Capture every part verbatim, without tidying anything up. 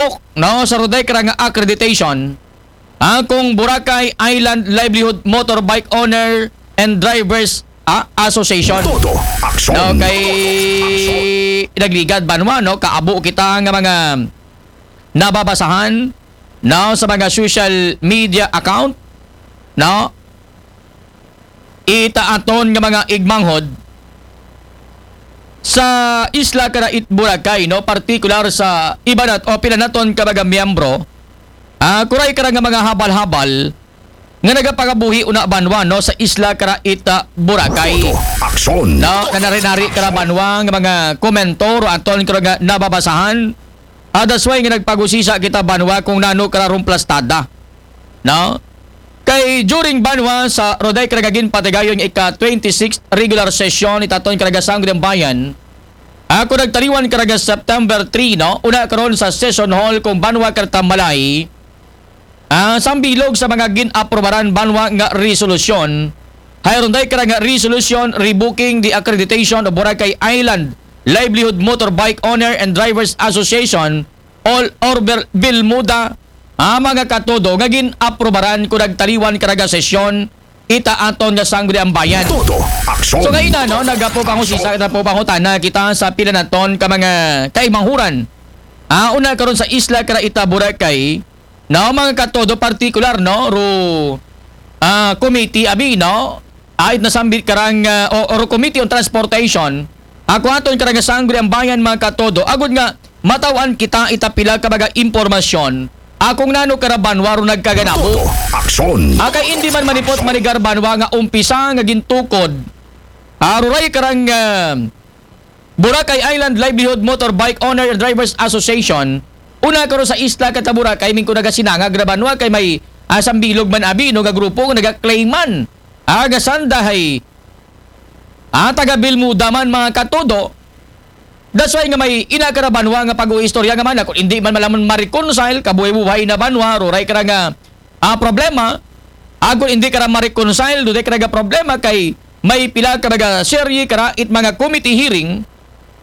nagdapok, no, sa ruday kara nga accreditation, ah, kung Boracay Island Livelihood Motorbike Owner and Drivers, ah, Association. Todo aksyon. No, kay nagligad banwa, no, kaabo kita nga mga nababasahan, no, sa mga social media account, no, ita aton nga mga igmanghod sa isla kara it Boracay, no, partikular sa iba nat o pila naton ka mga miyembro, ah, kuray kara nga mga habal-habal nga nagapangabuhi una banwa, no, sa isla kara ita Boracay. Todo aksyon. No, nanari-nari kara banwa nga mga komento ro aton kara nga nababasahan. Ah, that's why nga nagpagusisa kita banwa kung nano kara rong plastada. No? Kay during banwa sa ruday kara nga ginpatigayon nga ika twenty-sixth regular session itaton kara nga Sangguniang Bayan, ako nagtaliwan kara nga September three, no? Una karon sa session hall kung banwa kara ta malay, ah, sambilog sa mga gin-aprobaran banwa nga resolusyon, hay ruday kara nga resolution revoking the accreditation of Boracay Island Livelihood Motorbike Owner and Drivers Association, all over Bermuda, ah, mga katodo, nga gin-aprobaran ko nagtaliwan kara nga sesyon ita aton nga Sangguniang Bayan. Todo aksyon. So, kaina, no, nagapo pangusisa, nagapo pangutana kita sa pila naton ka mga kaimanghuran. Ah, una karon sa isla kara ita Boracay, no, mga katodo, partikular, no, ro, ah, committee abi, no, ait nasambit karang, ah, o, o ro Committee on Transportation, ako aton kara nga Sangguniang Bayan, mga katodo, agud nga mataw-an kita ita pila ka mga impormasyon, akong nano kara banwa ro nagkaganabo. Todo aksyon. Ah, kay indi man manipot manigar banwa nga umpisa nga gintukod, ah, ruray karang, ah, Boracay Island Livelihood Motorbike Owner and Drivers Association, una karon sa isla kara ta Boracay, mingko nagasinangag ra banwa kay may, ah, sambilog man abi, no, nga grupo nga nagaklaiman, ah, nga sanda hay, ah, taga Bermuda man, mga katodo. That's why nga may ina kara banwa nga pag-uistorya nga man, kung hindi man malaman ma-reconcile, kabuhay-buhay na banwa, ruray kara nga, ah, problema, agud hindi kara ma-reconcile, duday kara nga problema kay may pila ka mga serye kara it mga committee hearing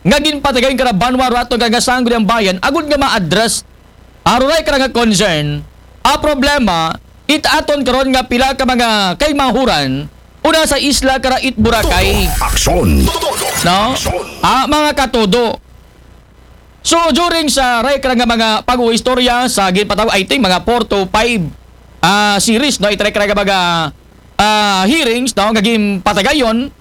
nga ginpatigayon kara banwa ro aton kara nga Sangguniang Bayan, agud nga ma-address, ah, ruray kara nga concern, ah, problema, it aton karon nga pila ka mga kaimanghuran, una sa isla kara it Boracay. Todo aksyon. No? Aksyon. Ah, mga katodo. So, during sa ray kara nga mga pag-uistorya sa ginpataw, I think, mga four to five, ah, series, no? Itray kara nga mga, ah, hearings, no? Nga ginpatigayon,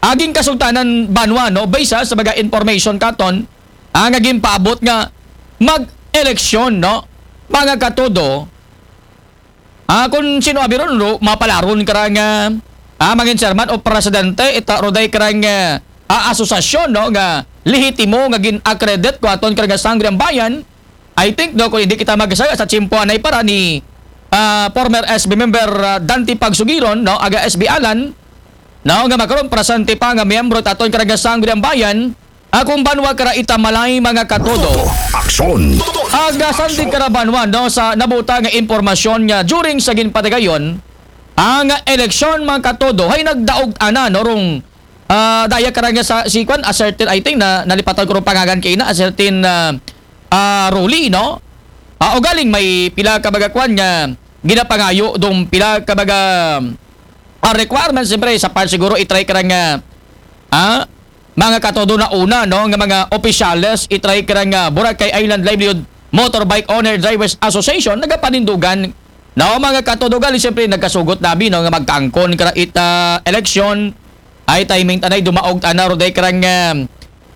aging kasugtanan banwa, no? Based sa mga information katon, ah, nga ginpaabot nga mag-eleksyon, no? Mga katodo, ah, kung sino abi ron, ro, mapalaron kara nga, ah, mangin chairman o presidente, ita ruday kara nga, ah, asosasyon, no, nga lehitimo nga gin-accredit ko aton kara nga Sangguniang Bayan. I think, no, kung hindi kita magsaya sa tiyempo anay para ni, ah, former S B member, ah, Dante Pagsugiron, no, aga S B Alan, no, nga makaron presente pa nga miyembro it aton kara nga Sangguniang Bayan, akong banwa kara ita malay, mga katodo. Todo aksyon. Aga sandig kara banwa, no, sa nabuta nga impormasyon nga during sa ginpatigayon, ang eleksyon, mga katodo, hay nagdaog ana, no, rong, ah, daya kara nga sa si kwan, a certain, I think, na nalipatan ko rong pangagan kay na, a certain, ah, ah, Rolly, no? Ah, ugaling may pila ka mga kwan nga ginapangayo dong pila ka mga, ah, requirements, siyempre, sa part siguro, itry kara nga, ah, mga katodo na una, no, nga mga opisyales, itry kara nga Boracay Island Livelihood Motorbike Owner Drivers Association, nagapanindugan, no, mga katodo, gali, siyempre, nagkasugot nabi, no, nga magkaangkon kara ita eleksyon, ay timing tanay, dumaog tana, ruday kara nga,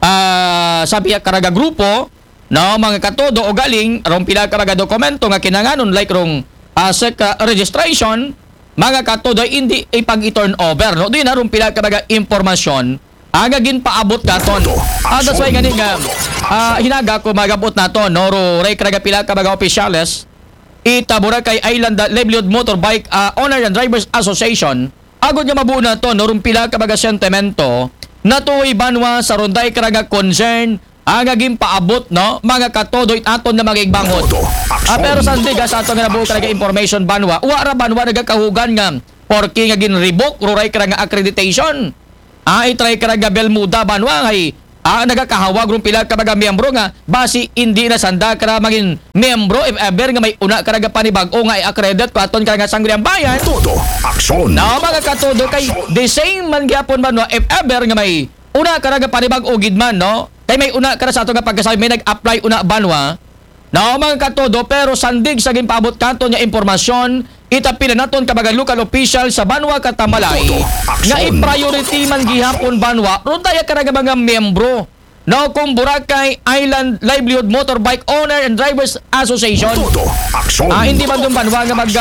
ah, sabi kara nga grupo, no, mga katodo, ugaling, rong pila ka mga dokumento nga kinanganon, like rong, ah, sec, ah, registration, mga katodo, hindi ipag-turn over, no? Di na rong pila ka mga impormasyon, ah, nga ginpaabot naton. Ah, that's why gani nga, ah, hinaga ko magabot naton, no? Ro, ray kara nga pila ka mga opisyales, ita Boracay Island Livelihood Motorbike, ah, Owner and Drivers Association, agud nga mabuo naton, no? Rong pila ka mga sentimento, natuoy banwa sa ruday kara nga concern, ah, nga ginpaabot, no, mga katodo, it aton nga mga igmanghod. Todo aksyon. Ah, pero sandig, ah, sa aton nga nabuo kara nga information banwa, wa ra banwa nagakahugan nga porke nga gin-revoke ruray kara nga accreditation. Ah, itry kara nga Bermuda banwa, hay Ah, nagakahawag run pila ka mga miyembro nga basi hindi na sanda kara mangin miyembro if ever nga may una kara nga panibag-o nga i-accredit ko aton kara nga Sangguniang Bayan. Todo aksyon. No, mga katodo, kay the same man gyapon man, no, if ever nga may una kara nga panibag-o gid man, no? Kay may una kara sa ato nga pagkasabi, may nag-apply una banwa. No, mga katodo, pero sandig sa ginpaabot katon nga impormasyon, itapila naton ka mga local official sa banwa ka Tambalay Todo aksyon. nga i-priority man gihapon banwa run daya kara nga mga miyembro, no, kung Boracay Island Livelihood Motorbike Owner and Drivers Association. Todo aksyon. Ah, hindi man dun banwa nga mag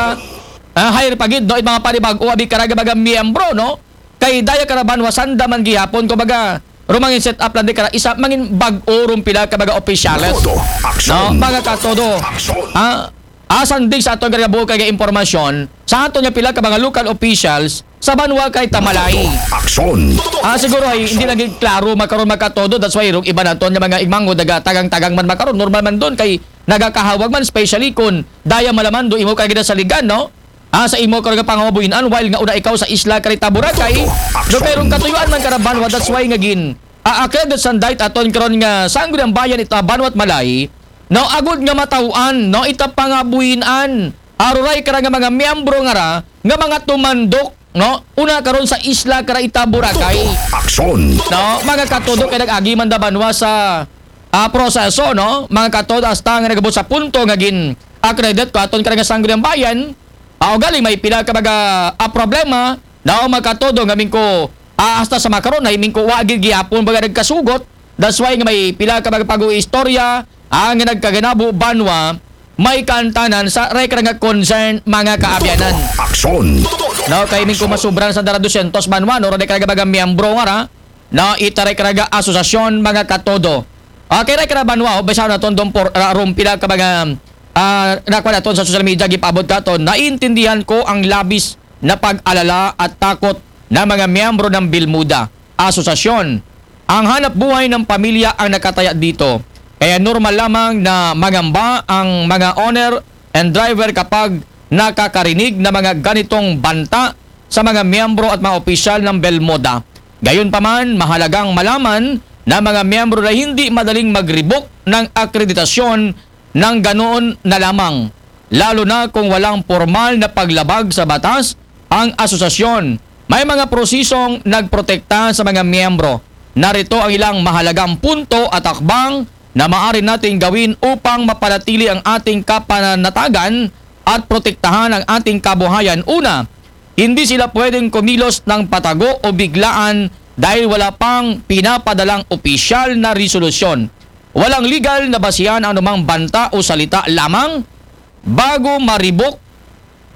ah, hire pa gid, no, it mga panibag-o abi kara nga mga miyembro, no? Kay daya kara banwa sanda man gihapon, kumbaga, rumangin set up lang di kara isa mangin bag-o run pila ka mga opisyales. Todo aksyon. No, mga katodo. Aksyon. Ah, asandig sa aton kaya buo kay impormasyon sa aton nga pila ka mga local officials sa banwa kay Tambalay. Aksyon. Ah, siguro ay hindi lagi klaro makaron makatodo. That's why rung iba naton nga mga igmango daga tagang-tagang man makaron. Normal man dun kay nagakahawag man, especially kung daya malaman do imo kay gina sa ligan, no? Ah, sa imo karon nga pangabuhinan, while nga una ikaw sa isla karita Boracay. Aksyon. Do pero katuyuan man kara banwa, that's why nga gin aakred sa dayt aton karon nga Sangguniang Bayan ita banwa at Malay. No, agud nga mataw-an, no, ita pangabuhinan. Aruray kara nga mga miyembro nga ra nga mga tumandok, no? Una karon sa isla kara ita Boracay. Aksyon. No, mga katodo kay nag-agi man da banwa sa ah, proseso, no? Mga katodo hasta nga nagabot sa punto nga gin accredit ko aton kara nga Sangguniang Bayan. Ah, ugali may pila ka mga ah, problema, no, mga katodo nga mingko ah, hasta sa makaron ay mingko wa gid gihapon baga nagkasugot. That's why nga may pila ka mga pag-uistorya ang nagkaganabo banwa may kantanan sa rekra nga concern mga kaabyanan. Aksyon. No, kay mingko masubran sa dara dosyentos banwa, no, rekra nga mga miyembro nga ra, no, ita rekra nga asosasyon mga katodo. Okay, rekra banwa, o, basa naton dong por, ra, rong pila ka mga ah, nakuha naton sa social media, gipaabot katon, naiintindihan ko ang labis na pag-alala at takot ng mga miyembro ng Bilmuda, asosasyon. Ang hanap buhay ng pamilya ang nakataya dito. Kaya normal lamang na mangamba ang mga owner and driver kapag nakakarinig ng mga ganitong banta sa mga miyembro at mga opisyal ng Belmoda. Gayunpaman, mahalagang malaman ng mga miyembro na hindi madaling mag-revoke ng akreditasyon ng ganoon na lamang, lalo na kung walang pormal na paglabag sa batas ang asosasyon. May mga prosesong nagprotekta sa mga miyembro. Narito ang ilang mahalagang punto at hakbang na maaari nating gawin upang mapanatili ang ating kapanatagan at protektahan ang ating kabuhayan. Una, hindi sila pwedeng kumilos ng patago o biglaan dahil wala pang pinapadalang opisyal na resolusyon. Walang legal na basihan ang anumang banta o salita lamang. Bago ma-revoke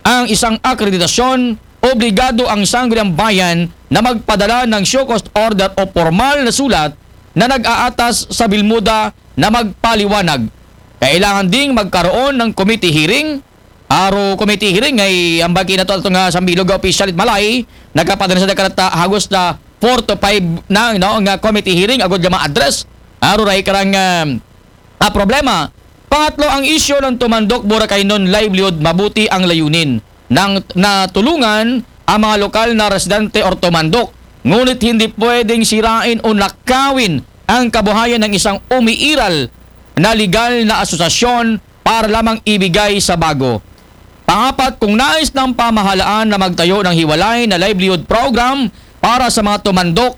ang isang akreditasyon, obligado ang Sangguniang Bayan na magpadala ng show cause order o pormal na sulat na nag-aatas sa Bilmuda na magpaliwanag. Kailangan ding magkaroon ng committee hearing. Aro committee hearing ay ang bagi na to ato nga sa Bilog Official it Malay, nagkapadala sa dakarata hagos na four to five na, no, nga committee hearing agud nga ma-address. Aro ray karang ah, ah, problema. Pangatlo, ang isyu ng Tumandok Boracay non livelihood, mabuti ang layunin ng natulungan ang mga lokal na residente or tumandok. Ngunit hindi pwedeng sirain o nakawin ang kabuhayan ng isang umiiral na legal na asosasyon para lamang ibigay sa bago. Pangapat, kung nais ng pamahalaan na magtayo ng hiwalay na livelihood program para sa mga tumandok,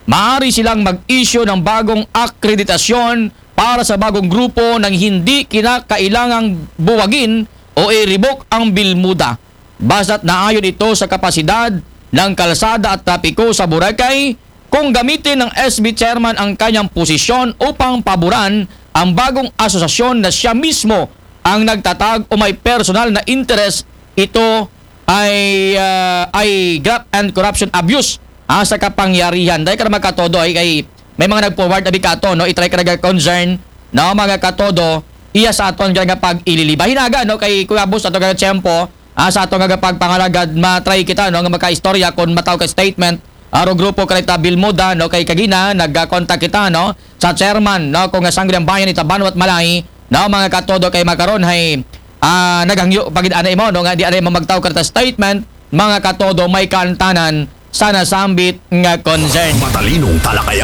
maaari silang mag-issue ng bagong akreditasyon para sa bagong grupo nang hindi kinakailangang buwagin o i-revoke ang Bilmuda. Basta't naayon ito sa kapasidad ng kalsada at trapiko sa Boracay, kung gamitin ng S B chairman ang kanyang posisyon upang paboran ang bagong asosasyon na siya mismo ang nagtatag o may personal na interes, ito ay ah, ay graft and corruption abuse ah, sa kapangyarihan. Dahil ka na magkatodo ay kay may mga nag-forward na bikato, no? I-try ka nag-concern, no? Mga katodo, iya sa aton nga pag-ililiba. Hinaga, no? Kay Kuya Bus, ato nga tiyempo, ah, sa ato nga pagpangalagad, matry kita, no? Nga makaistorya kung mataw ka statement, aro grupo ka rita Bilmuda, no? Kay kagina, nag-contact kita, no? Sa chairman, no? Kung nga Sangguniang Bayan, ita Banwa at Malay, no? Mga katodo kay makaron, hay, ah, naghangyo, pagid ana imo, no? Nga di ana imo magtaw ka rita statement, mga katodo, may kantanan sa nasambit nga concern. Matalinong talakayan.